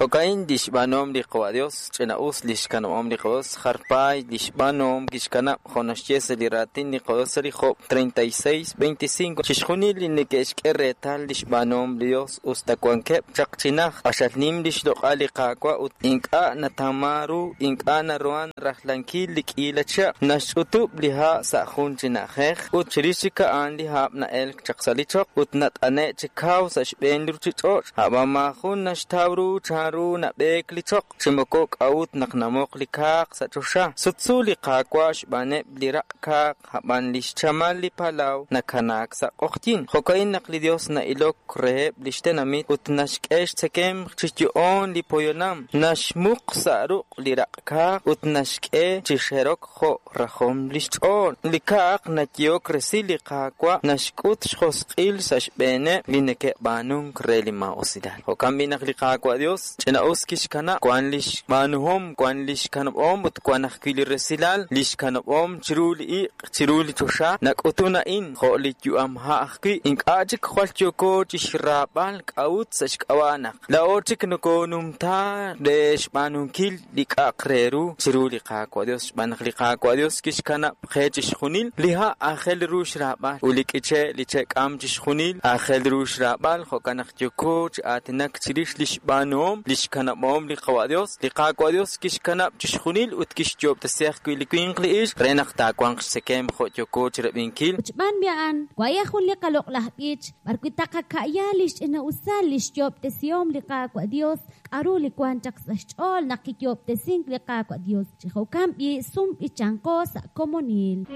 Jo'ka'in li xb'aanuhom li Qawa' Dios, ch'ina'us li xkanab'ahom li Qawa' Dios, jar paay li xb'aanuhom kixkanab' jo' naxye sa' li raatin li Qawa' Dios sa' li Job 36:25. Chixjunil li neke'xk'e reetal li xb'aanuhom li Dios us ta wankeb' chaq chi najt, q'axal nim li xloq'al li Qaawa' ut ink'a' natawman ru, ink'a' naruhan rajlankil li k'iila chihab'. Naxch'utub' li ha' sa' jun chi na'ajej ut chirix chik a'an li hab' na'elk chaq sa' li choql ut nat'ane' chi kaw sa' xb'een li ruchich'och'. A'b'an maajun naxtaw ru chanru nab'eek li choql, chi moko k'a'ut naq namoq li kaaq sa' choxa. Sutsu li Qaawa' xb'aaneb' li raq' kaaq, a'b'an li xchamal li palaw nakanaak sa' q'oqyink. Jo'ka'in naq li Dios na'ilok reheb' li xtenamit ut naxk'e xtzekemq chi yo'oon li poyanam, naxmuq sa' ruq' li raq' kaaq ut naxk'e chi xerok jo' rajom li xch'ool. Li kaaq nayehok resil li Qaawa' naxk'ut xjosq'il sa' xb'eeneb' li neke'b'aanunk re li maa'usilal. Jo'kan b'i' naq li Qaawa' Dios ch'ina'us kixkanab' wan li xb'aanuhom, wan li xkanab'ahom ut wan ajwi' li resilal li xkanab'ahom chiru li iq', chiru li choxa. Nak'utun a'in jo' li yu'am ha' ajwi'. Ink'a' chik jwal yooko chi xraab'al k'a'ut sa' xk'ab'a' naq laa'o chik nokoonumta re xb'aanunkil li k'a'aq re ru chiru li Qaawa' Dios, xb'aan naq li Qaawa' Dios kixkanab' qe chixjunil li ha' aajel ru xraab'al ut li k'iche' li che'k'aam chixjunil aajel ru xraab'al. Jo'kan naq yooko chi aatinak chirix li xb'aanuhom li xkanab'ahom li Qawa' Dios. Li Qaawa' Dios kixkanab' chixjunil ut kixyoob'tesi ajwi' li winq li ixq re naq taawanq xtzekemq jo' yooko chirab'inkil. Ut xb'aan b'i a'an, waye' jun li qaloq'laj b'ich b'arwi' taqaka'ya li xch'ina'usal li xyoob'tesihom li Qaawa' Dios, k'aru li wank chaq sa' xch'ool naq kiyoob'tesink li Qaawa' Dios. Chi jo'kan b'i' sum b'ichanqo sa' komonil.